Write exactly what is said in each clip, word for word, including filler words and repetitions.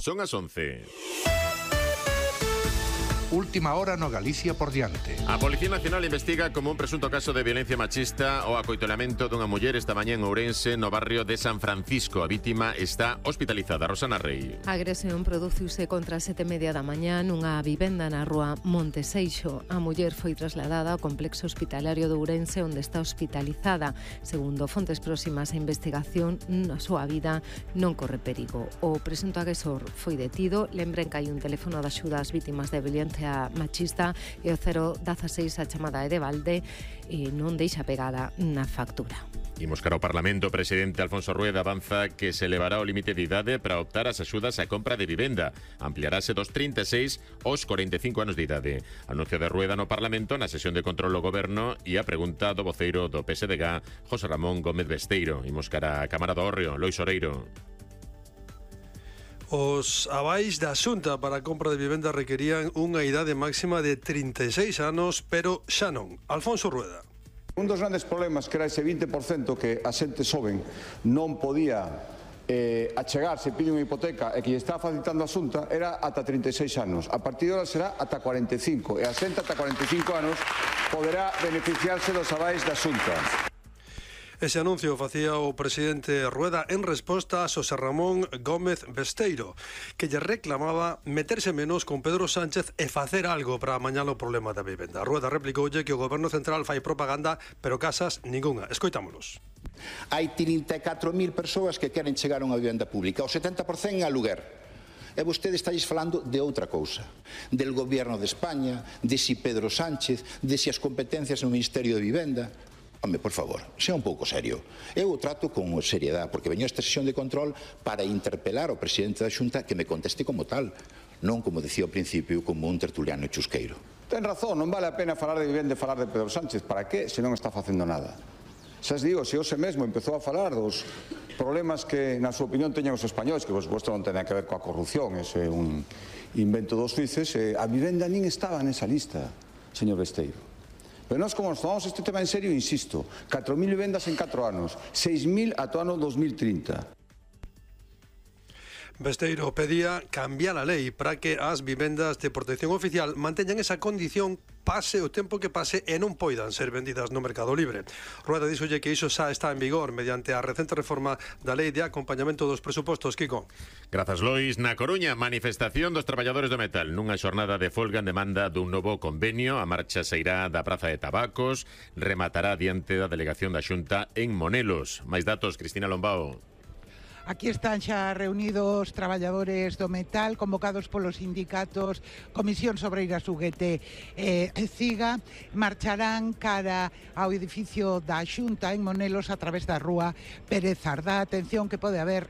Son as once. Última hora no Galicia por diante. A Policía Nacional investiga como un presunto caso de violencia machista o acoitolamento dunha muller esta mañá en Ourense, no barrio de San Francisco. A vítima está hospitalizada. Rosana Rey. A agresión produciuse contra as sete e media da mañá nunha vivenda na rúa Monteseixo. A muller foi trasladada ao complexo hospitalario de Ourense, onde está hospitalizada. Segundo fontes próximas á investigación, na súa vida non corre perigo. O presunto agresor foi detido. Lembren que hai un teléfono de axuda ás vítimas de violencia machista e o cero dieciséis a chamada é de balde e non deixa pegada na factura. Imos cara ao Parlamento. O presidente Alfonso Rueda avanza que se elevará o límite de idade para optar as axudas á compra de vivenda. Ampliarase dos trinta e seis aos corenta e cinco anos de idade. Anuncio de Rueda no Parlamento na sesión de control do Goberno e a pregunta do voceiro do P S D G, José Ramón Gómez Besteiro. Imos cara á Cámara do Hórreo, Lois Oreiro. Os avais da Xunta para a compra de vivenda requerían unha idade máxima de trinta e seis anos, pero xa non. Alfonso Rueda. Un dos grandes problemas que era ese vinte por cento que a xente xoven non podía eh, achegarse, pide unha hipoteca e que lle está facilitando a Xunta era ata trinta e seis anos. A partir de ahora será ata cuarenta e cinco e a xente ata cuarenta e cinco anos poderá beneficiarse dos avais da Xunta. Ese anuncio facía o presidente Rueda en resposta a Xosé Ramón Gómez Besteiro, que lle reclamaba meterse menos con Pedro Sánchez e facer algo para amañar o problema da vivenda. Rueda replicoulle que o Goberno Central fai propaganda, pero casas ningunha. Escoitámonos. Hai trinta e catro mil persoas que queren chegar a unha vivenda pública, o setenta por cento en aluguer. E vostede estáis falando de outra cousa, del Goberno de España, de si Pedro Sánchez, de si as competencias no Ministerio de Vivenda. Home, por favor, sea un pouco serio. Eu o trato con seriedade, porque veño a esta sesión de control para interpelar ao presidente da Xunta que me conteste como tal, non como decía ao principio, como un tertuliano chusqueiro. Ten razón, non vale a pena falar de vivenda e falar de Pedro Sánchez. Para que, se non está facendo nada? Xa os digo, se hoxe mesmo empezou a falar dos problemas que, na súa opinión, teñen os españoles, que, por suposto, non ten que ver coa corrupción, ese é un invento dos suíces, eh, a vivenda nin estaba nesa lista, señor Besteiro. Pero nós, como nos tomamos este tema en serio, insisto, catro mil vivendas en catro anos, seis mil ata o ano dos mil trinta. Besteiro pedía cambiar a lei para que as vivendas de protección oficial manteñan esa condición pase o tempo que pase e non poidan ser vendidas no mercado libre. Rueda díxolle que iso xa está en vigor mediante a recente reforma da lei de acompañamento dos presupostos. Kiko. Grazas, Lois. Na Coruña, manifestación dos traballadores do metal nunha xornada de folga en demanda dun novo convenio. A marcha sairá da Praza de Tabacos, rematará diante da delegación da Xunta en Monelos. Máis datos, Cristina Lombao. Aquí están xa reunidos traballadores do metal convocados polos sindicatos Comisión Obreiras U G T e CIGA. Marcharán cara ao edificio da Xunta en Monelos a través da rúa Pérez Ardá. Atención que pode haber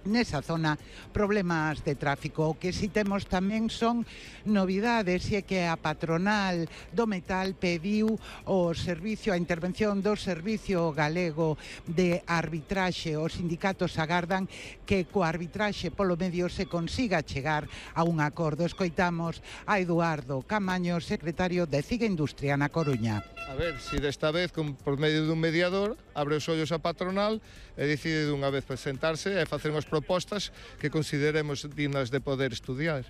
nesa zona problemas de tráfico. O que si temos tamén son novidades, e é que a patronal do metal pediu o servicio, a intervención do Servicio Galego de Arbitraxe. Os sindicatos agardan que co arbitraxe polo medio se consiga chegar a un acordo. Escoitamos a Eduardo Camaño, secretario de CIGA Industria na Coruña. A ver, si desta vez, con, por medio dun mediador, abre os ollos a patronal e decide dunha vez presentarse e facer unhas propostas que consideremos dignas de poder estudiar.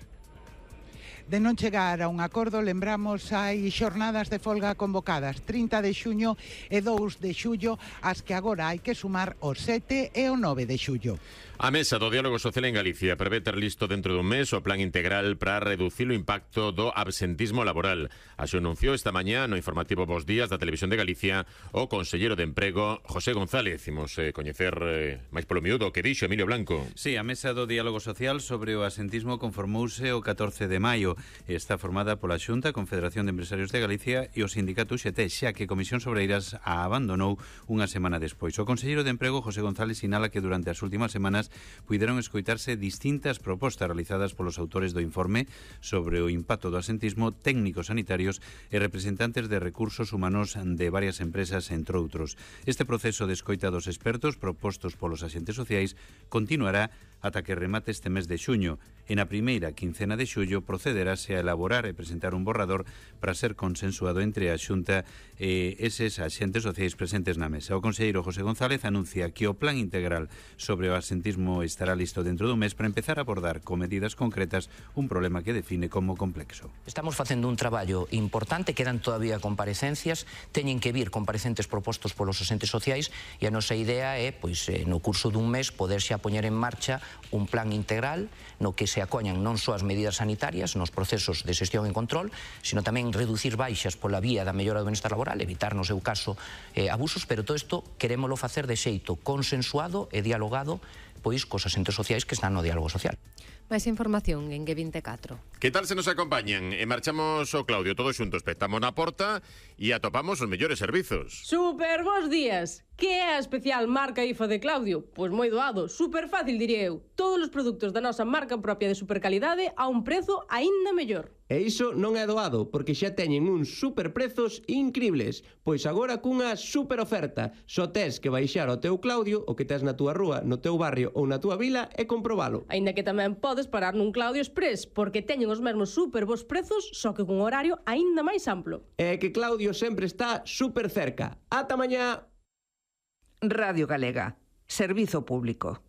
De non chegar a un acordo, lembramos, hai xornadas de folga convocadas trinta de xuño e dous de xullo, as que agora hai que sumar o sete e o nove de xullo. A Mesa do Diálogo Social en Galicia prevé ter listo dentro dun mes o plan integral para reducir o impacto do absentismo laboral. Así anunciou esta mañá no informativo Bos Días da Televisión de Galicia o conselleiro de Emprego, José González. Imos eh, coñecer eh, máis polo miúdo que dixo Emilio Blanco. Sí, a Mesa do Diálogo Social sobre o absentismo conformouse o catorce de maio. Está formada pola Xunta, Confederación de Empresarios de Galicia e o sindicato U X T, xa que Comisión Obreiras a abandonou unha semana despois. O conselleiro de Emprego, José González, sinala que durante as últimas semanas puideron escoitarse distintas propostas realizadas polos autores do informe sobre o impacto do absentismo, técnicos sanitarios e representantes de recursos humanos de varias empresas, entre outros. Este proceso de escoita dos expertos propostos polos axentes sociais continuará ata que remate este mes de xuño. e na primeira quincena de xullo procederase a elaborar e presentar un borrador para ser consensuado entre a Xunta e eses axentes sociais presentes na mesa. O conselleiro José González anuncia que o plan integral sobre o absentismo estará listo dentro dun mes para empezar a abordar con medidas concretas un problema que define como complexo. Estamos facendo un traballo importante, quedan todavía comparecencias, teñen que vir comparecentes propostos polos axentes sociais e a nosa idea é, pois, no curso dun mes poder xa poñer en marcha un plan integral no que se acoñan non só as medidas sanitarias nos procesos de xestión e control, sino tamén reducir baixas pola vía da mellora do benestar laboral, evitar no seu caso eh, abusos, pero todo isto querémolo facer de xeito consensuado e dialogado pois cos axentes sociais que están no diálogo social. Máis información en G veinticuatro. Que tal se nos acompañan? E marchamos o Claudio todos xuntos, petamos na porta e atopamos os mellores servizos. Super bons días. Que é a especial marca I F A de Claudio? Pois moi doado, super fácil diría eu. Todos os produtos da nosa marca propia de supercalidade a un prezo aínda mellor. E iso non é doado, porque xa teñen uns superprezos incribles. Pois agora cunha super oferta. Só tes que baixar ao teu Claudio, o que tes na túa rúa, no teu barrio ou na túa vila e comprobalo. Aínda que tamén podes parar nun Claudio Express, porque teñen os mesmos super bons prezos, só que cun horario aínda máis amplo. É que Claudio sempre está super cerca. Ata mañá! Radio Galega, servizo público.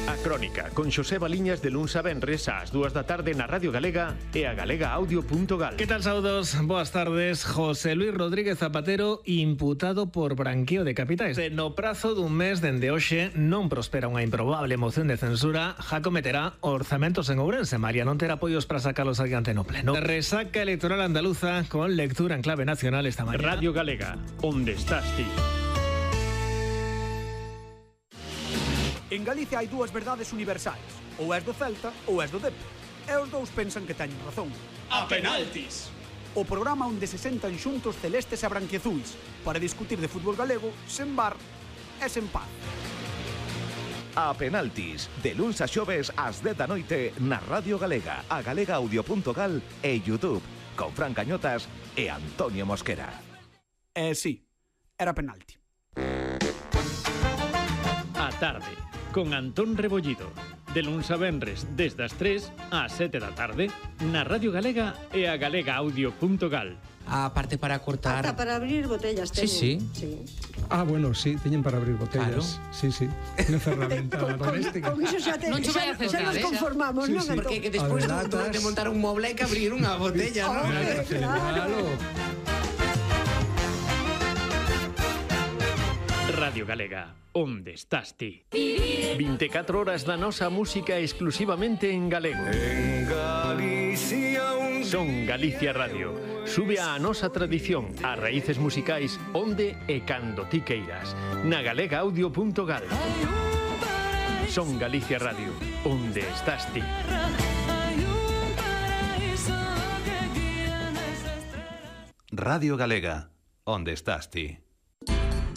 A Crónica, con Xosé Baliñas de luns a venres ás dúas da tarde na Radio Galega e a galega audio punto gal. Que tal, saudos? Boas tardes. José Luis Rodríguez Zapatero imputado por branqueo de capitais. No prazo dun mes dende hoxe non prospera unha improbable moción de censura, já cometerá orzamentos en Ourense. María non terá apoios para sacalos adiante no pleno. Resaca electoral andaluza con lectura en clave nacional esta mañana. Radio Galega, onde estás ti? En Galicia hai dúas verdades universais. Ou és do Celta ou és do Dep. E os dous pensan que teñen razón. A penaltis! O programa onde se sentan xuntos celestes e branquiazuis para discutir de fútbol galego sen bar e sen paz. A penaltis, de luns a xoves ás dez da noite na Radio Galega, a galega audio punto gal e YouTube, con Fran Cañotas e Antonio Mosquera. Eh, sí, era penalti. A tarde, con Antón Rebollido, de luns a venres desde as tres ás sete da tarde na Radio Galega e a galega audio punto gal. A parte para cortar... Ata para abrir botellas sí, sí. sí. Ah, bueno, sí, teñen para abrir botellas. Claro. Sí, sí. Unha ferramenta con, doméstica. Con, con iso xa, te, non xa, xa, xa nos conformamos, sí, non? Sí. Porque que despois de, de montar un moble hai que abrir unha botella, non? Hombre, claro. Radio Galega, onde estás ti? veinticuatro horas da nosa música exclusivamente en galego. En Galicia un Son Galicia Radio. Sube a nosa tradición, as raíces musicais onde e cando ti queiras. Na galega audio punto gal. Son Galicia Radio, onde estás ti? Radio Galega, onde estás ti?